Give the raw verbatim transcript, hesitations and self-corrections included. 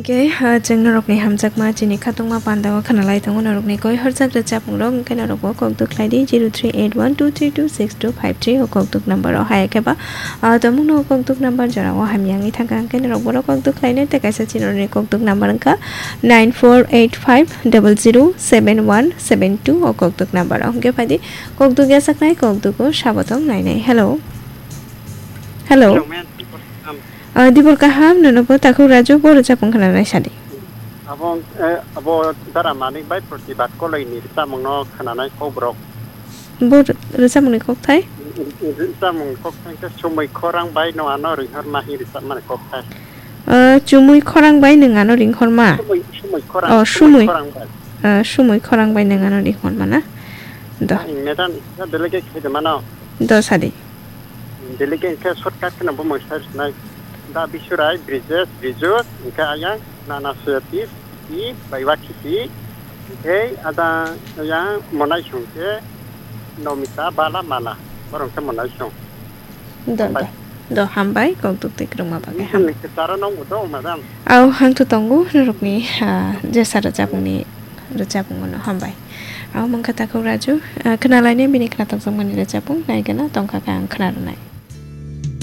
Ke, ah, chwng norokni hamjakma chini khatungma pandao khwnalai tongo norokni koi horjak rwchapmung rok, hwnkhe norokbo kokduk khlai di zero three eight one two three two six two five three o kokduk number o, hai khe ba, ah, tabukno kokduk number jora o hamya wngwi thangkha, hwnkhe norok borok kokduk khlainai tei kaisa chini norokni kokduk number wngkha nine four eight five double zero seven one seven two o kokduk number o. Hwnkhe phaidi kokduk yachaknai kokduk o sabotong nainai. Hello. Hello. Hello, ma'am. Ah, dibor kaham, nono bo takhuk Raju, bo rwchapmung khwnanai sadi. Abo, eh, abo Dara Manik bai Protibad Koloi ni rwchapmung no khwnanai kokborok. Bo rw-, rwchapmung ni kokthai? Rwchapmung ni kokthai khe Sumui Khorang bai no ano ringhorma hi rwchapmani kokthai. Ah, Chumui Khorang bai nwng ano ringhorma? Sumui, Sumui Khorang, Oh, Sumui Sumui. Khorang bai. Ah, Sumui Khorang bai nwng ano ringhorma na? Do. Ang madam, isa belege khe de mano. Do sadi. Delegate hwnkhe shortcut kheno bumung sai rwnai. Da Bisurai, Brijesh, Riju, hwnkhe ayang Nana Suyati, Siti, Baiwa Khiti, hwnkhe ada ayang Monaisong khe Nomita, Bala, Mala. Borok hwnkhe Monaisong. Do, Hambai. Do. Do, hambai, kokduk tei kwrwngma bagwi. Nini hambai. Kwcharo nongbo do, madam. Au, hangthu tongo, norokni, ah, jesa rwchapmungni rwchapmung no hambai. Au, mangkha takhuk Raju, ah, khwnalainai bini khwnathokjakmani rwchapmung, naigana tongkha khe ang khwnarwnai.